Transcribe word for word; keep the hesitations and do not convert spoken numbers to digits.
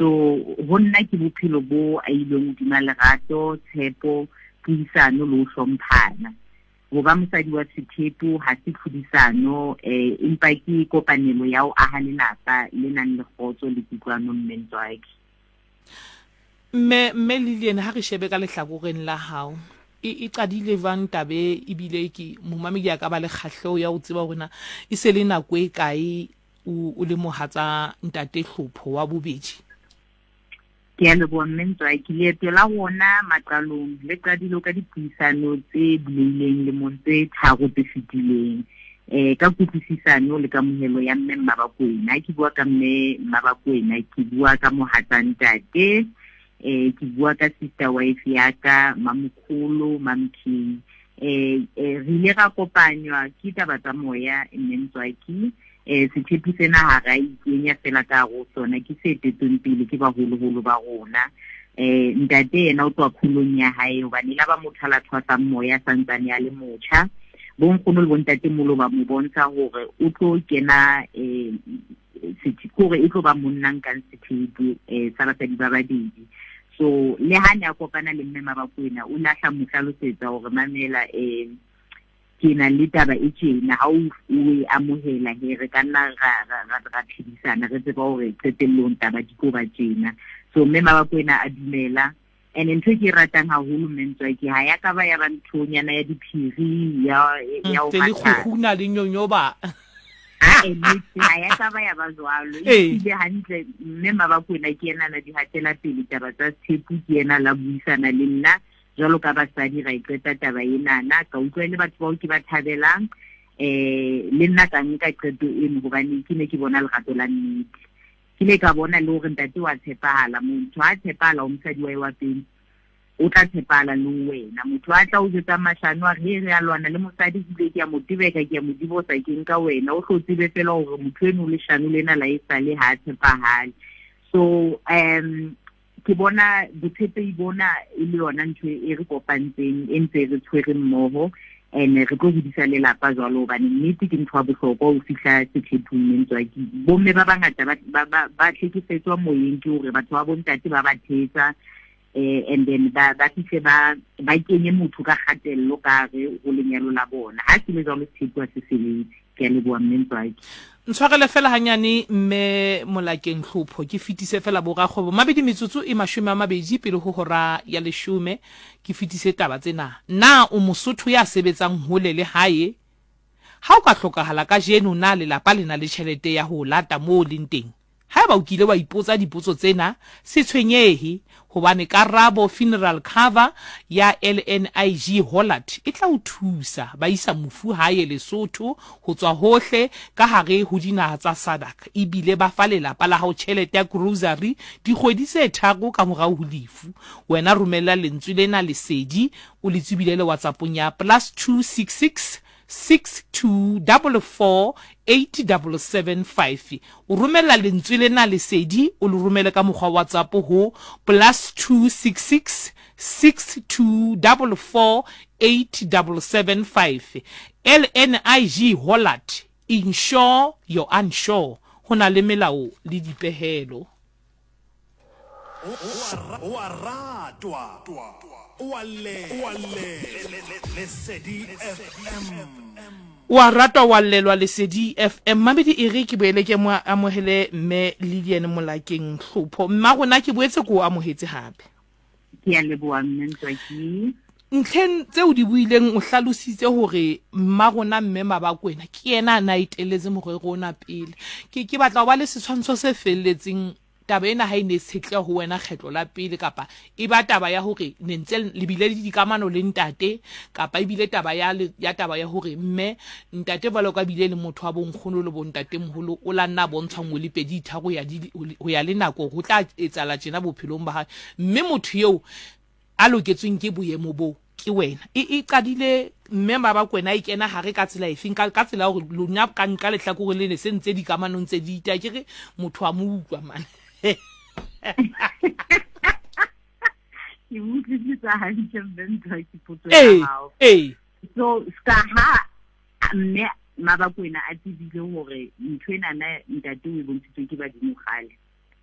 So ho nna ke bophelo bo ahilweng hodima lerato, tshepo, puisano le ho hlomphana. Ho ba mosadi wa sethepu ha se tlhodisano, eh empa ke kopanelo ya ho aha lelapa le nang le kgotso le kutlwano, mme Ntswaki. Mme mme Lilian, ha re shebe ka lehlakoreng la hao, e e qadile jwang tabe, ebile ke momamedi a ka ba le kgahleho ya ho tseba hore na e se le nako e kae o o le mohatsa ntate Hlopho wa bobedi? Ke a leboha, mme Ntswaki. Leeto la rona maqalong le qadile ka dipuisano tse bulehileng lemong tse tharo tse fetileng, eh ka kutlwisisano le kamohelo ya mme Mmabakwena. Ha ke bua ka mme Mmabakwena, ke bua ka mohatsa ntate, eh ke bua ka sister wife ya ka, Mamokholo, Mamking. eh eh re ile ra kopanywa ke taba tsa moya, mme Ntswaki. eh sethepu sena ha ra ikenya fela ka hare ho sona, ke se etetsweng pele ke baholoholo ba rona. eh ntate yena o tswa kgolong ya hae, hobane la ba motho a la thwasang moya santsane a le motjha. Bonkgono le bontatemoholo ba mo bontsha hore o tlo kena, eh kore e tlo ba monna nkang sethepu eh sa basadi ba babedi. So le ha ne a kopana le mme Mabakwena, o lahla mo hlalosetsa hore mamela, eh ke na le taba e tjena, ha o o e amohela he re ka nna ra ra ra ra phedisana, re tseba hore qetellong taba di tlo ba tjena. So mme Mabakwena a dumela. And ntho e ke e ratang haholo, mme Ntswaki, ha ya ka ba ya ba nthonyana ya diphiri ya ya ho Tse le matha. kgukguna le nyonyoba. Ha e nnete, ha ya ka ba ya ba jwalo. Ee. Ebile hantle mme Mabakwena ke yena na di hatela pele taba tsa sethepu, ke yena la buisana le nna jwalo ka basadi, ra e qeta taba enana. Ka utlwa e le batho bao ke ba thabelang, eh le nna ka nka qeto eno hobane ke ne ke bona lerato la nnete. Ke ile ka bona le hore ntate wa tshepahala. Motho ha tshepahala ho mosadi wa hae wa pele, o tla tshepahala le ho wena. Motho a tla o jwetsa mashano a re, he re a lwana le mosadi, ebile ke a mo tebeka, ke a mo divorce, ke nka wena. O hlo tsebe fela hore motho eno leshano lena la esale ha a tshepahale. So um ke bona botshepehi bona e le yona ntho e re kopantseng, e ntse re tshwere mmoho, and re tlo hodisa lelapa jwalo, hobane nnete ke ntho ya bohlokwa ho fihla sethepung, mme Ntswaki. Bomme ba bangata ba, ba, ba, ba hlekefetswa moyeng ke hore batho ba bontate ba ba thetsa, eh and then ba, ba fihle ba, ba kenye motho ka kgatello ka hare ho lenyalo la bona. Ha se le jwalo, sethepu ha se sebetse. Ke a leboha, mme Ntswaki. Ntshwarele fela hanyane, mme Molakeng Hlopho, ke fetise fela borakgwebo mabedi metsotso e mashome a mabedi pele ho hora ya leshome, ke fetise taba tsena. Na o Mosotho ya sebetsang hole le hae? Ha o ka hlokahala kajeno, na lelapa le na le tjhelete ya ho o lata moo o leng teng? Haeba o kile wa ipotsa dipotso tsena, se tshwenyehe, hobane Karabo Funeral Cover ya L N I G Hollard e tla o thusa. Ba isa mofu hae Lesotho ho tswa hohle ka hare ho dinaha tsa SADC, ebile ba fa lelapa la hao tjhelete ya grocery dikgwedi tse tharo ka morao ho lefu. Wena romella lentswe lena Lesedi, o le tswibilele WhatsAppong ya plus two six six six two double four eight double seven five. O romella lentswe lena Lesedi, o le romele ka mokgwa wa WhatsApp ho plus two six six six two double four eight double seven five. L N I G Hollard, insure your unsure. Ho na le melao le dipehelo. O a ratwa, o a llelwa, Lesedi F M. O a ratwa, wa llelwa, Lesedi F M. Mamedi, e re ke boele ke mo amohele mme Lilian Molakeng Hlopho. Mma rona, ke boetse ke o amohetse hape. Ke a leboha, mme Ntswaki. Ntlheng tseo di buileng, o hlalositse hore mma rona mme Mabakwena ke yena a na etelletse morero ona pele. Ke, ke batla ho ba le setshwantsho se felletseng. Taba ena ha e ne e tshetleha ho wena kgetlo la pele, kapa e ba taba ya hore ne ntse le bile le dikamano le ntate, kapa ebile taba ya le, ya taba ya hore mme ntate jwalo ka bile le motho wa bonkgono le bontatemoholo, o la nna bontshwa nngwe le pedi tharo ho ya di, ho ya le nako ho tla etsahala tjena bophelong ba hae, mme motho eo a loketsweng ke boemo bo ke wena. E, e qadile mme Mabakwena e kena hare ka tsela efeng, ka, ka tsela ya hore lona ka nka lehlakore le ne se ntse dikamanong tse di ita, ke re motho a mo utlwa mane. Ke utlwisisa hantle mme Ntswaki potso ya Ee, hao. ee. So ska ha mme Mabakwena a tsebile hore ntho enana ntate o e bontshitswe ke badimo kgale,